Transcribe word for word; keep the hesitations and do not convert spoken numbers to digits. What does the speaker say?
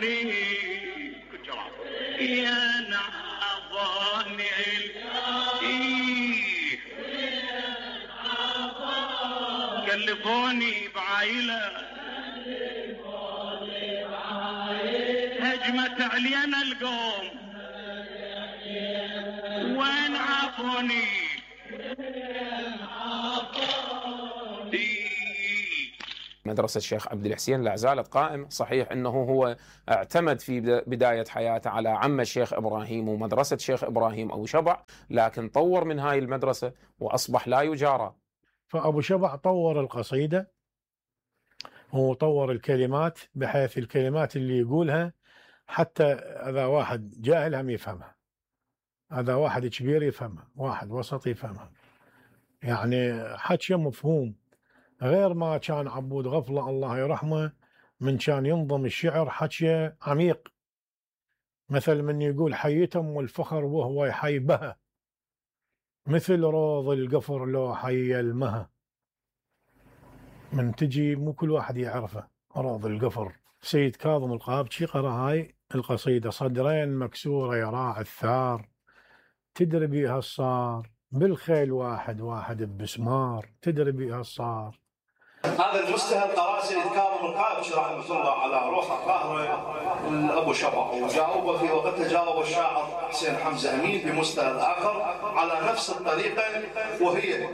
نعظني يا نعظني إيه كلفوني بعايلة هجمت علينا القوم وين عافوني مدرسة الشيخ عبد الحسين لا زالت قائمة. صحيح أنه هو اعتمد في بداية حياته على عم الشيخ إبراهيم ومدرسة الشيخ إبراهيم أبو شبع، لكن طور من هاي المدرسة وأصبح لا يجارى. فأبو شبع طور القصيدة وطور الكلمات بحيث الكلمات اللي يقولها حتى إذا واحد جاهل هم يفهمها، هذا واحد كبير يفهمها، واحد وسط يفهمها، يعني حكي مفهوم، غير ما كان عبود غفلة الله يرحمه من كان ينظم الشعر حكي عميق، مثل من يقول حيتم والفخر وهو يحي بها مثل روض القفر لو حي المها. من تجي مو كل واحد يعرفه روض القفر. سيد كاظم القابجي قرأ هاي القصيدة صدرين مكسورة يراعي الثار تدري بيها الصار بالخيل واحد واحد بسمار تدري بيها الصار. هذا المستهل قرأ سيد كاظم القابجي رحمه الله على روح الطاهرة أبو شبع، وجاوب في وقتها جاوب الشاعر حسين حمزة أمين بمستهل آخر على نفس الطريقة، وهي